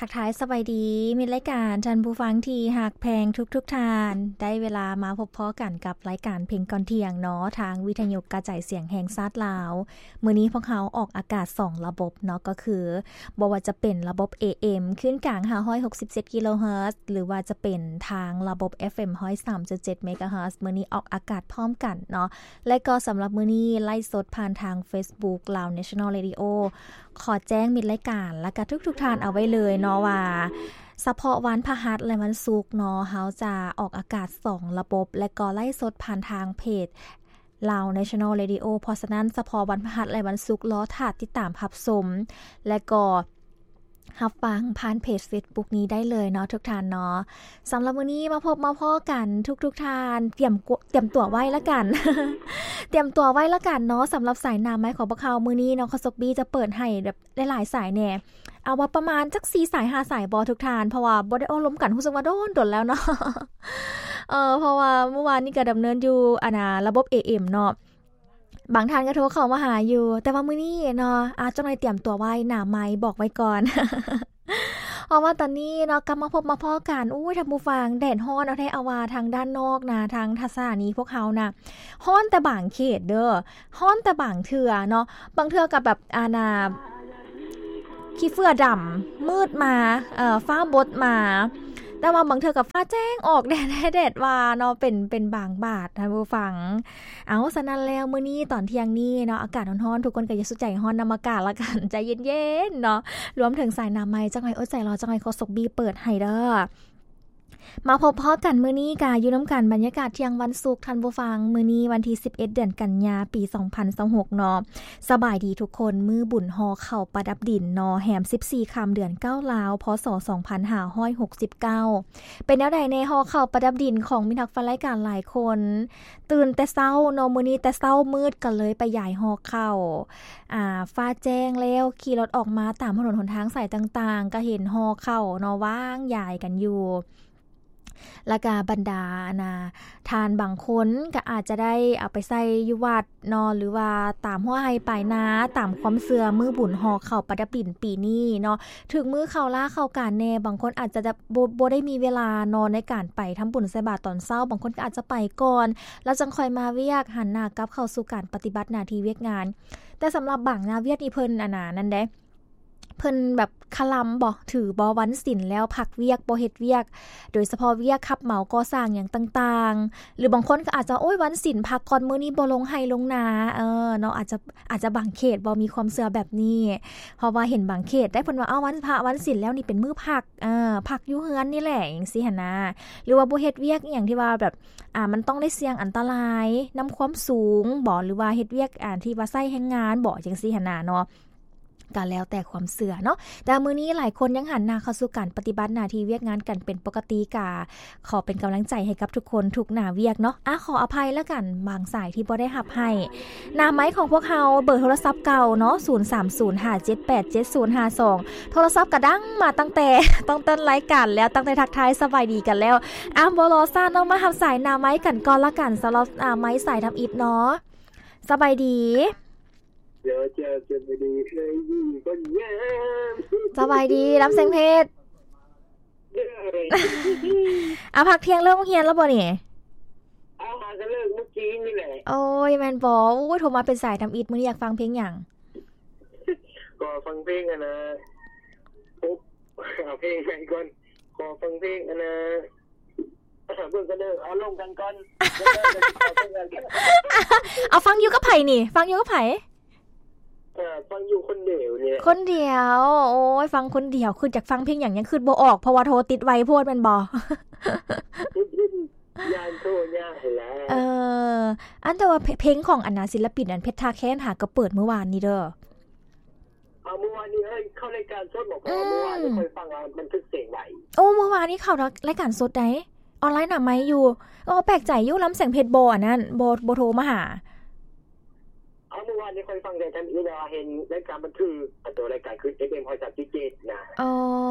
ທັກທາຍສະບາຍດີ ມິດລາຍການ ທ່ານຜູ້ຟັງທີ່ຮັກແພງທຸກໆທ່ານ, ໄດ້ເວລາມາພົບພໍ້ກັນກັບລາຍການເພງກ່ອນທ່ຽງເນາະ ທາງວິທະຍຸກະຈາຍສຽງແຫ່ງຊາດລາວ. ມື້ນີ້ພວກເຮົາອອກອາກາດສອງລະບົບເນາະ ກໍຄືບໍ່ວ່າຈະເປັນລະບົບ ເອເອັມ ຄື້ນກາງຫ້າຮ້ອຍຫົກສິບເຈັດກິໂລເຮີດ ຫຼືວ່າຈະເປັນທາງລະບົບ ເອຟເອັມ ຮ້ອຍສາມຈຸດເຈັດເມກາເຮີດ. ມື້ນີ້ອອກອາກາດພ້ອມກັນເນາະ ແລະກໍສຳລັບມື້ນີ້ໄລຟ໌ສົດຜ່ານທາງເຟສບຸກ Lao National Radio. ຂໍແຈ້ງມິດລາຍການ ແລະກະທຸກໆທ່ານເອົາໄວ້ເລີຍເນາະວ່າ ສະເພາະວັນພະຫັດ ແລະ ວັນສຸກເນາະ ເຮົາຈະອອກອາກາດສອງລະບົບ ແລະກໍໄລຟ໌ສົດຜ່ານທາງເພຈ Lao National Radio. ເພາະສະນັ້ນ ສະເພາະວັນພະຫັດ ແລະ ວັນສຸກ ລໍຖ້າຕິດຕາມຮັບຊົມ ແລະກໍຮັບຟັງຜ່ານເພຈເຟສບຸກນີ້ໄດ້ເລີຍເນາະ ທຸກທ່ານເນາະ. ສຳລັບມື້ນີ້ມາພົບມາພໍ້ກັນ ທຸກໆທ່ານຕຽມ ຕຽມຕົວໄວ້ລະກັນ ຕຽມຕົວໄວ້ລະກັນເນາະ. ສຳລັບສາຍໜ້າໄມຂອງພວກເຮົາມື້ນີ້ເນາະ ຄາສົກບີຈະເປີດໃຫ້ແບບ ຫຼາຍໆສາຍແດ່ ເອົາວ່າປະມານຈັກສີ່ສາຍຫ້າສາຍບໍ່ທຸກທ່ານ ເພາະວ່າບໍ່ໄດ້ໂອ້ລົມກັນ ຮູ້ສຶກວ່າດົນໆແລ້ວເນາະ. ເອີ ເພາະວ່າມື້ວານນີ້ກໍດຳເນີນຢູ່ ອັນນ່າ ລະບົບ ເອເອັມ ເນາະ ບາງທ່ານກໍໂທເຂົ້າມາຫາຢູ່ ແຕ່ວ່າມື້ນີ້ເນາະ ອາ ຈັກໜ້ອຍຕຽມຕົວໄວ້ ໜ້າໄມບອກໄວ້ກ່ອນ. ເພາະວ່າຕອນນີ້ເນາະ ກັບມາພົບມາພໍ້ກັນ ໂອ້ຍ ທ່ານຜູ້ຟັງ ແດດຮ້ອນເອົາແທ້ເອົາວ່າ ທາງດ້ານນອກນະ ທາງສະຖານີພວກເຮົານະ ຮ້ອນແຕ່ບາງເຂດເດີ ຮ້ອນແຕ່ບາງເທື່ອເນາະ ບາງເທື່ອກໍແບບ ອັນນ່າ ຂີ້ເຝື້ອດຳ ມືດມາ ເອີ ຟ້າບົດມາ ແຕ່ວ່າບາງເທື່ອກໍຟ້າແຈ້ງອອກ ແດດ ແດດວ່າເນາະ ເປັນ ເປັນບາງບາດ ທ່ານຜູ້ຟັງ. ເອົາ ສະນັ້ນແລ້ວ ມື້ນີ້ຕອນທ່ຽງນີ້ເນາະ ອາກາດຮ້ອນໆ ທຸກຄົນກໍຢ່າສຸດໃຈຮ້ອນນຳອາກາດລະກັນ ໃຈເຢັນໆເນາະ. ລວມເຖິງສາຍໜ້າໄມ ຈັກໜ້ອຍອົດໃຈລໍ ຈັກໜ້ອຍຄາສົກບີເປີດໃຫ້ເດີ. ມາພົບພໍ້ກັນມື້ນີ້ກະຢູ່ນຳກັນ ບັນຍາກາດທ່ຽງວັນສຸກ ທ່ານຜູ້ຟັງ ມື້ນີ້ວັນທີສິບເອັດ ເດືອນກັນຍາ ປີສອງພັນຊາວຫົກເນາະ. ສະບາຍດີທຸກຄົນ ມື້ບຸນຫໍ່ເຂົ້າປະດັບດິນເນາະ ແຮມສິບສີ່ຄ່ຳ ເດືອນເກົ້າລາວ ພ.ສ. ສອງພັນຫ້າຮ້ອຍຫົກສິບເກົ້າ. ເປັນແນວໃດແດ່ຫໍ່ເຂົ້າປະດັບດິນຂອງມິດຮັກແຟນລາຍການຫຼາຍຄົນ? ຕື່ນແຕ່ເຊົ້າເນາະ ມື້ນີ້ແຕ່ເຊົ້າມືດກໍເລີຍໄປຢາຍຫໍ່ເຂົ້າ ອາ ຟ້າແຈ້ງແລ້ວ ຂີ່ລົດອອກມາຕາມຖະໜົນຫົນທາງສາຍຕ່າງໆ ກໍເຫັນຫໍ່ເຂົ້າເນາະ ວາງຢາຍກັນຢູ່ ແລ້ວກະບັນດາ ອັນນ່າ ທ່ານບາງຄົນກໍອາດຈະໄດ້ເອົາໄປໃສ່ຢູ່ວັດເນາະ ຫຼືວ່າຕາມຮົ້ວໄຮ່ປາຍນາ ຕາມຄວາມເຊື່ອ ມື້ບຸນຫໍ່ເຂົ້າປະດັບດິນປີນີ້ເນາະ ຖືກມື້ເຂົ້າລາເຂົ້າການແດ່ ບາງຄົນອາດຈະ ບໍ່ ບໍ່ໄດ້ມີເວລາເນາະ ໃນການໄປທຳບຸນໃສ່ບາດຕອນເຊົ້າ ບາງຄົນກໍອາດຈະໄປກ່ອນ ແລ້ວຈັ່ງຄ່ອຍມາວຽກ ຫັນໜ້າກັບເຂົ້າສູ່ການປະຕິບັດໜ້າທີ່ວຽກງານ. ແຕ່ສຳລັບບາງໜ້າວຽກນີ້ເພິ່ນ ອັນນ່າ ນັ້ນເດ້ ເພິ່ນແບບຄະລຳບໍ ຖືບໍ ວັນສິນແລ້ວພັກວຽກ ບໍ່ເຮັດວຽກ ໂດຍສະເພາະວຽກຮັບເໝົາກໍ່ສ້າງຫຍັງຕ່າງໆ ຫຼືບາງຄົນກໍອາດຈະ ໂອ້ຍ ວັນສິນພັກກ່ອນ ມື້ນີ້ບໍ່ລົງໄຮ່ລົງນາ ເອີ ເນາະ ອາດຈະ ອາດຈະບາງເຂດບໍ່ ມີຄວາມເຊື່ອແບບນີ້ ເພາະວ່າເຫັນບາງເຂດໄດ້ ເພິ່ນວ່າ ເອົາ ວັນພະ ວັນສິນແລ້ວນີ້ເປັນມື້ພັກ ເອີ ພັກຢູ່ເຮືອນນີ້ແຫຼະ ຈັ່ງຊີ້ຫັ້ນນະ ຫຼືວ່າບໍ່ເຮັດວຽກອີ່ຫຍັງທີ່ວ່າແບບ ອາ ມັນຕ້ອງໄດ້ສ່ຽງອັນຕະລາຍນຳຄວາມສູງບໍ ຫຼືວ່າເຮັດວຽກ ອາ ທີ່ວ່າໃຊ້ແຮງງານບໍ ຈັ່ງຊີ້ຫັ້ນນະເນາະ. ກໍແລ້ວແຕ່ຄວາມເຊື່ອເນາະ ແຕ່ມື້ນີ້ຫຼາຍຄົນຍັງຫັນໜ້າເຂົ້າສູ່ການປະຕິບັດໜ້າທີ່ວຽກງານກັນເປັນປົກກະຕິ ກະຂໍເປັນກຳລັງໃຈໃຫ້ກັບທຸກຄົນທຸກໜ້າວຽກເນາະ. ອາ ຂໍອະໄພລະກັນ ບາງສາຍທີ່ບໍ່ໄດ້ຮັບໃຫ້. ໜ້າໄມຂອງພວກເຮົາ ເບີໂທລະສັບເກົ່າເນາະ ສູນສາມສູນຫ້າເຈັດແປດເຈັດສູນຫ້າສອງ ໂທລະສັບກະດັງມາຕັ້ງແຕ່ ຕັ້ງແຕ່ຕົ້ນລາຍການແລ້ວ ຕັ້ງແຕ່ທັກທາຍສະບາຍດີກັນແລ້ວ. ອາ ບໍ່ລໍຊ້າເນາະ ມາຮັບສາຍໜ້າໄມກັນກ່ອນລະກັນ ສຳລັບໜ້າໄມສາຍທຳອິດເນາະ. ສະບາຍດີ. ສະບາຍດີ ລຳແສງເພັດ. ອາ ພັກທ່ຽງເລີກໂຮງຮຽນແລ້ວບໍ່ນີ້? ອາ ຫາກະເລີກມື້ກີ້ນີ້ແຫຼະ. ໂອ້ຍ ແມ່ນບໍ່? ໂອ້ຍ ໂທມາເປັນສາຍທຳອິດ ມື້ນີ້ຢາກຟັງເພງຫຍັງ? ກໍຟັງເພງ ອັນນ່າ ໂອ້ ເອົາເພງໃໝ່ກ່ອນ ຂໍຟັງເພງ ອັນນ່າ ເບິ່ງກັນເດີ ເອົາລົງກັນກ່ອນ. ເອົາຟັງຢູ່ກັບໃຜນີ້? ຟັງຢູ່ກັບໃຜ? ເອີ ຟັງຢູ່ຄົນດຽວນີ້ແຫຼະ. ຄົນດຽວ ໂອ້ຍ ຟັງຄົນດຽວ ຄຶດຢາກຟັງເພງຫຍັງ ຍັງຄຶດບໍ່ອອກ ເພາະວ່າໂທຕິດໄວໂພດແມ່ນບໍ່? ຢ້ານໂທຍາກຫັ້ນແຫຼະ. ເອີ ອັນ ແຕ່ວ່າເພ- ເພງຂອງ ອັນນ່າ ສິນລະປິນ ອັນ ເພັດທ່າແຄນ ຫາກໍເປີດມື້ວານນີ້ເດີ. ເອົາ ມື້ວານນີ້ ເອີ ເຂົ້າລາຍການສົດບໍ? ເພາະວ່າ ອືມ ມື້ວານນີ້ຂ້ອຍຟັງ ອາ ບັນທຶກສຽງໄວ້. ໂອ້ ມື້ວານນີ້ເຂົ້າລາຍການສົດໃດ໋ ອອນລາຍໜ້າໄມຢູ່. ເອີ ແປກໃຈຢູ່ ລຳແສງເພັດບໍ່ ອັນນັ້ນ ບໍ່ ບໍ່ໂທມາຫາ. ເອົາ ມື້ວານນີ້ຂ້ອຍຟັງແຕ່ທຳອິດ ແຕ່ວ່າເຫັນລາຍການບັນທຶກ ອັນໂຕລາຍການຄື ເອັຟເອັມຮ້ອຍສາມຈຸດເຈັດນະ. ອໍ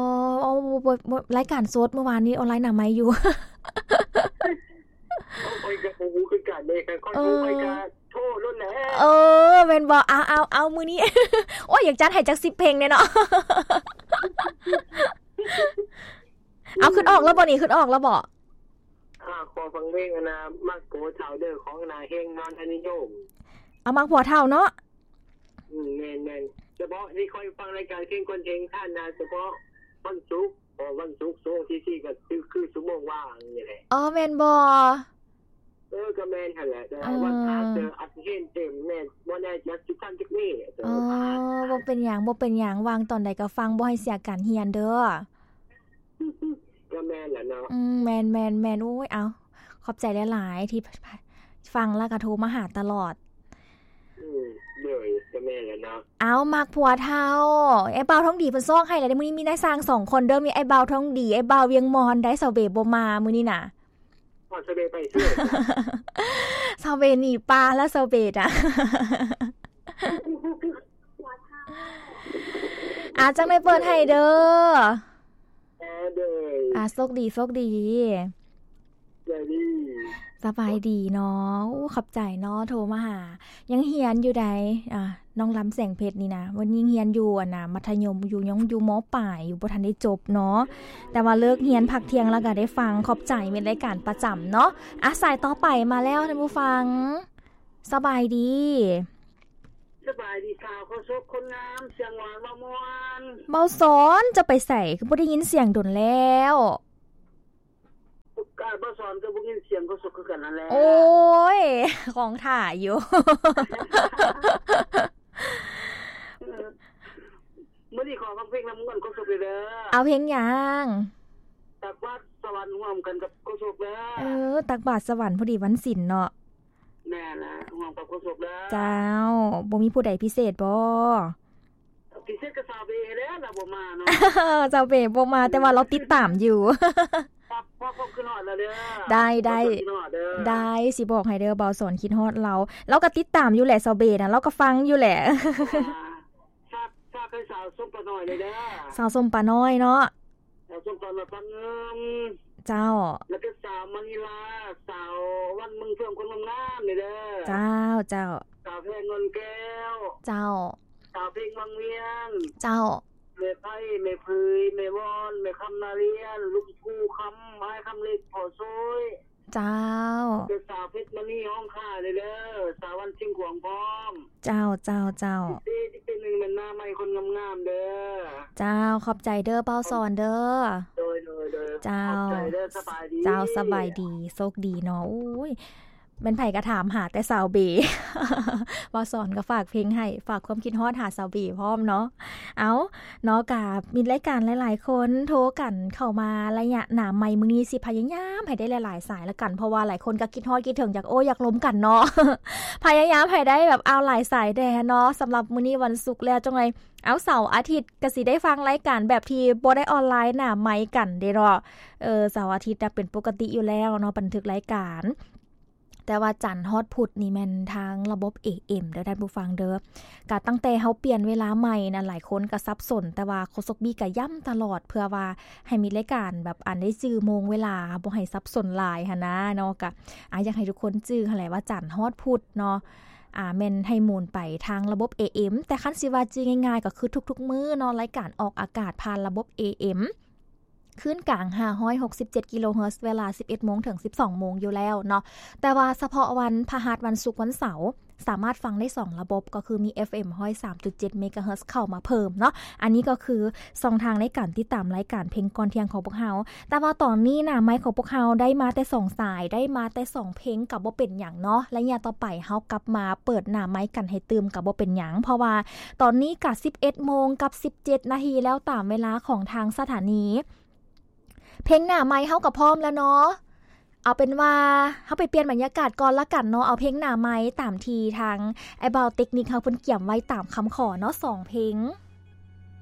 ເອົາ ບໍ່ ບໍ່ ລາຍການສົດ ມື້ວານນີ້ອອນລາຍໜ້າໄມຢູ່. ຂ້ອຍກໍບໍ່ຮູ້ຄືກັນເດ້ ຄັນຂ້ອຍຮູ້ ເອີ ຂ້ອຍກໍໂທໂລດແຫຼະ. ເອີ ແມ່ນບໍ່? ເອົາ ເອົາ ເອົາ ມື້ນີ້ ໂອ້ຍ ຢາກຈັດໃຫ້ຈັກສິບເພງແດ່ເນາະ. ນີ້ຄິດອອກແລ້ວບໍ? ຂ້າຂໍຟັງເພງອັນນ່າ ມັກຜົວເຖົ້າເດີ ຂອງອັນນ່າ ເຮງ ນອນທະນິຍົມ. ເອົາ ມັກຜົວເຖົ້າເນາະ. ອືມ ແມ່ນໆ ສະເພາະທີ່ຂ້ອຍຟັງລາຍການເພງກ່ອນເພງທ່ານນະ ສະເພາະວັນສຸກ ເພາະວັນສຸກ ຊົ່ວໂມງທີສີ່ ກໍຄື ຄືຊົ່ວໂມງວ່າງນີ້ແຫຼະ. ອໍ ແມ່ນບໍ? ເອີ ກໍແມ່ນຫັ້ນແຫຼະ ແຕ່ວ່າ ເອີ ວັນພະຫັດ ເອີ ອາດຊິເຫັນເຕັມແນ່ ບໍ່ແນ່ຈັກຊິທັນຈັກມື້. ອໍ ບໍ່ເປັນຫຍັງ ບໍ່ເປັນຫຍັງ ວ່າງຕອນໃດກໍຟັງ ບໍ່ໃຫ້ເສຍການຮຽນເດີ. ກໍແມ່ນແຫຼະເນາະ. ອືມ ແມ່ນໆໆ ໂອ້ຍ ເອົາ ຂອບໃຈຫຼາຍໆ ທີ່ ຟັງແລ້ວກໍໂທມາຫາຕະຫຼອດ. ອືມ ໂດຍ ກໍແມ່ນແຫຼະເນາະ. ເອົາ ມັກຜົວເຖົ້າ ອ້າຍບ່າວທອງດີເພິ່ນຊອກໃຫ້ແລ້ວເດ້. ມື້ນີ້ມີນາຍຊ່າງສອງຄົນເດີ ມີອ້າຍບ່າວທອງດີ ອ້າຍບ່າວວຽງມອນໄດ໋. ສາວເບບໍ່ມາມື້ນີ້ນະ. ອ້າວ ສາວເບໄປເຊີ ສາວເບໜີປາແລ້ວ ສາວເບນະ. ອາ ຈັ່ງໄດ້ເປີດໃຫ້ເດີ. ເອີ ໂດຍ ອາ ໂຊກດີ ໂຊກດີ. ສະບາຍດີ ສະບາຍດີເນາະ. ໂອ້ ຂອບໃຈເນາະ ໂທມາຫາ. ຍັງຮຽນຢູ່ໃດ໋ ອາ ນ້ອງລຳແສງເພັດນີ້ນະ ເພິ່ນຍັງຮຽນຢູ່ອັນນ່າ ມັດທະຍົມ ຢູ່ ຍັງຢູ່ ມ.ປາຍຢູ່ ບໍ່ທັນໄດ້ຈົບເນາະ. ແຕ່ວ່າເລີກຮຽນພັກທ່ຽງແລ້ວກໍໄດ້ຟັງ. ຂອບໃຈ ເປັນລາຍການປະຈຳເນາະ. ອາ ສາຍຕໍ່ໄປມາແລ້ວທ່ານຜູ້ຟັງ. ສະບາຍດີ. ສະບາຍດີສາວໂຄສົກຄົນງາມ ສຽງຫວານເວົ້າມ່ວນ. ເບົາສອນ ເຈົ້າໄປໃສ? ຄືບໍ່ໄດ້ຍິນສຽງດົນແລ້ວ. ກະເບົາສອນກໍບໍ່ຍິນສຽງໂຄສົກຄືກັນນັ້ນແຫຼະ. ໂອ້ຍ ຄອງຖ້າຢູ່. ມື້ນີ້ຂໍຟັງເພງນຳມ່ວນໂຄສົກເດີ. ເອົາເພງຫຍັງ? ຕັກບາດສະຫວັນຮ່ວມກັນກັບໂຄສົກເດີ. ເອີ ຕັກບາດສະຫວັນ ພໍດີວັນສິນເນາະ. ແມ່ນລະ ຮ່ວມກັບໂຄສົກເດີ. ເຈົ້າ ບໍ່ມີຜູ້ໃດພິເສດບໍ? ພິເສດກໍສາວເບແຫຼະ ລາວບໍ່ມາເນາະ. ສາວເບບໍ່ມາ ແຕ່ວ່າລາວຕິດຕາມຢູ່. ຝາກຄວາມຄິດຮອດລາວເດີ. ໄດ້ ໄດ້ ໄດ້ ຊິບອກໃຫ້ເດີ ເບົາສອນຄິດຮອດລາວ. ລາວກໍຕິດຕາມຢູ່ແຫຼະ ສາວເບນະ ລາວກໍຟັງຢູ່ແຫຼະ. ຝາກ ຝາກໃຫ້ສາວສົມປານ້ອຍເດີ. ສາວສົມປານ້ອຍເນາະ. ສາວສົມປານ້ອຍ ປາເງິນ. ເຈົ້າ. ແລ້ວກໍສາວມະນີລາ ສາວວັນເມືອງເຟືອງ ຄົນງາມໆນີ້ເດີ. ເຈົ້າ ເຈົ້າ. ສາວແພງ ເງິນແກ້ວ. ເຈົ້າ. ສາວເພັງ ວັງວຽງ. ເຈົ້າ. ແມ່ໄພ ແມ່ຜືຍ ແມ່ວອນ ແມ່ຄຳ ນາລຽນ ລຸງພູຄຳ ອ້າຍຄຳເລັກ ພໍ່ໂຊຍ. ເຈົ້າ. ເປັນສາວເພັດມະນີ ຫ້ອງຂ້າເດີ ສາວວັນຊຽງຂວາງພ້ອມ. ເຈົ້າ ເຈົ້າ ເຈົ້າ. ເປັນ ເປັນໜຶ່ງແມ່ນໜ້າໃໝ່ຄົນງາມໆເດີ. ເຈົ້າ ຂອບໃຈເດີ ເບົາສອນເດີ. ໂດຍ ໂດຍ ໂດຍ. ເຈົ້າ. ຂອບໃຈເດີ ສະບາຍດີ. ເຈົ້າ ສະບາຍດີ ໂຊກດີເນາະ. ໂອ້ຍ ແມ່ນໃຜກໍຖາມຫາແຕ່ສາວເບ. ເບົາສອນກໍຝາກເພງໃຫ້ ຝາກຄວາມຄິດຮອດຫາສາວເບພ້ອມເນາະ. ເອົາ ເນາະ ກະມີລາຍການຫຼາຍໆຄົນໂທກັນເຂົ້າມາໄລຍະໜ້າໃໝ່ມື້ນີ້ ຊິພະຍາຍາມໃຫ້ໄດ້ຫຼາຍໆສາຍລະກັນ ເພາະວ່າຫຼາຍຄົນກໍຄິດຮອດຄິດເຖິງ ຢາກໂອ້ຢາກລົມກັນເນາະ. ພະຍາຍາມໃຫ້ໄດ້ແບບ ເອົາຫຼາຍສາຍແດ່ເນາະ. ສຳລັບມື້ນີ້ວັນສຸກແລ້ວ ຈັ່ງໃດ ເອົາ ເສົາອາທິດກໍຊິໄດ້ຟັງລາຍການແບບທີ່ບໍ່ໄດ້ອອນລາຍໜ້າໄມກັນເດ້ເນາະ. ເອີ ເສົາອາທິດນະເປັນປົກກະຕິຢູ່ແລ້ວເນາະ ບັນທຶກລາຍການ. ແຕ່ວ່າຈັນຮອດພຸດນີ້ແມ່ນທາງລະບົບ ເອເອັມ ເດີທ່ານຜູ້ຟັງເດີ. ກະຕັ້ງແຕ່ເຮົາປ່ຽນເວລາໃໝ່ນະ ຫຼາຍຄົນກະສັບສົນ ແຕ່ວ່າໂຄສົກບີກະຢ້ຳຕະຫຼອດ ເພື່ອວ່າໃຫ້ມີລາຍການແບບອັນໄດ້ຈື່ໂມງເວລາ ບໍ່ໃຫ້ສັບສົນຫຼາຍຫັ້ນນະເນາະ. ກະ ອາ ຢາກໃຫ້ທຸກຄົນຈື່ຫັ້ນແຫຼະວ່າຈັນຮອດພຸດເນາະ ອາ ແມ່ນໃຫ້ໝູນໄປທາງລະບົບ ເອເອັມ ແຕ່ຄັນຊິວ່າຈື່ງ່າຍໆ ກໍຄືທຸກໆມື້ເນາະ ລາຍການອອກອາກາດຜ່ານລະບົບ ເອເອັມ ຄື້ນກາງ ຫ້າຮ້ອຍຫົກສິບເຈັດ ກິໂລເຮີດ ເວລາ ສິບເອັດໂມງ ເຖິງ ສິບສອງໂມງຢູ່ແລ້ວເນາະ. ແຕ່ວ່າສະເພາະວັນພະຫັດ ວັນສຸກ ວັນເສົາ ສາມາດຟັງໄດ້ສອງລະບົບ ກໍຄືມີ ເອັຟເອັມ ຮ້ອຍສາມຈຸດເຈັດ ເມກາເຮີດ ເຂົ້າມາເພີ່ມເນາະ. ອັນນີ້ກໍຄືຊ່ອງທາງໃນການຕິດຕາມລາຍການເພງກ່ອນທ່ຽງຂອງພວກເຮົາ. ແຕ່ວ່າຕອນນີ້ໜ້າໄມຂອງພວກເຮົາໄດ້ມາແຕ່ສອງສາຍ ໄດ້ມາແຕ່ສອງເພງ ກໍບໍ່ເປັນຫຍັງເນາະ. ໄລຍະຕໍ່ໄປເຮົາກັບມາເປີດໜ້າໄມກັນໃຫ້ຕື່ມ ກໍບໍ່ເປັນຫຍັງ ເພາະວ່າຕອນນີ້ກໍ ສິບເອັດໂມງ ກັບ ສິບເຈັດນາທີແລ້ວ ຕາມເວລາຂອງທາງສະຖານີ. ເພງໜ້າໄມເຮົາກໍພ້ອມແລ້ວເນາະ. ເອົາເປັນວ່າເຮົາໄປປ່ຽນບັນຍາກາດກ່ອນລະກັນເນາະ. ເອົາເພງໜ້າໄມຕາມທີ່ທາງອ້າຍບ່າວເຕັກນິກເຮົາເພິ່ນກຽມໄວ້ຕາມຄຳຂໍເນາະ ສອງເພງ.